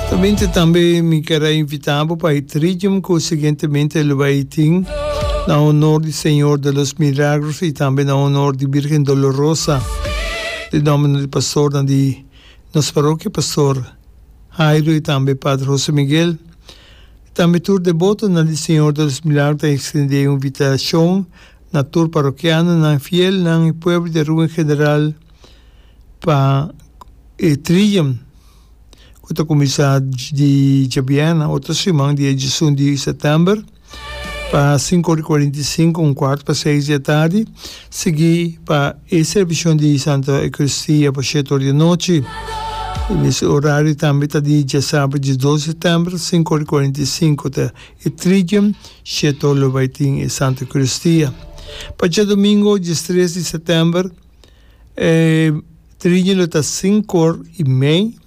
Tambiente tambe mi ker a invita bo pa e tridium cu siguientemente lo bay tin na honor di Señor de los Milagros y tambe na honor di Virgen Dolorosa. Den nomber di pastornan di nos parokia, Pastor Jairo y tambe Padre Jose Miguel. Tambe tur debotonan di Señor de los Milagros ta extende e invitacion na tur parokianonan, fielnan y pueblo di Aruba en general pa e tridium ku ta kuminsá di djabièrnè otro siman dia diesun di sètèmber pa sinku ora i kuarenta i sinku un kuart pa seis di atardi sigui pa e servisio di Santa Eukaristia pa shete ora di anochi. E mes orario tambe ta di djasabra diesdos sètèmber 5:45 ta e tridium shete ora lo bai tin e Santa Eukaristia. Pa djadomingo diestres di sètèmber E triña lo ta sinku or i mei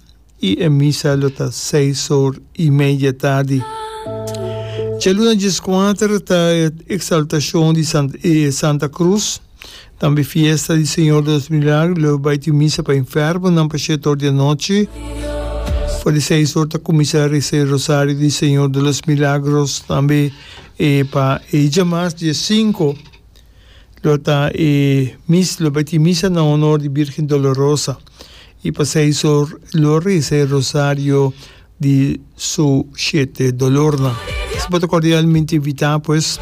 i e misa lo ta seis or i mei di e tardi. Djaluna dieskuater ta e eksaltashon di e Santa Krus, tambe fiesta di Señor de los Milagros, lo bai tin misa pa enfermonan pa shete or di anochi. For di seis or ta kuminsá resa e rosario di Señor de los Milagros, tambe e pa e djamas diesinku. Lo ta e mis lo bai tin misa na honor di Birgen Dolorosa y pa seis or lo reza e rosario di su shete dolornan. Si bo ta cordialmente invita pues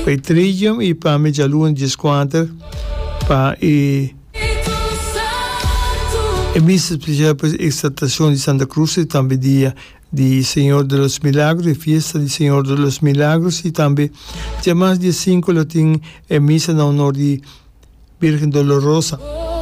pa e tridium y pa medialuna dieskuater pa e e misa especial pues exaltacion di Santa Cruz y tambe dia di Señor de los Milagros, e fiesta di Señor de los Milagros y tambe djamas dia sinku lo tin e misa na honor di Virgen Dolorosa.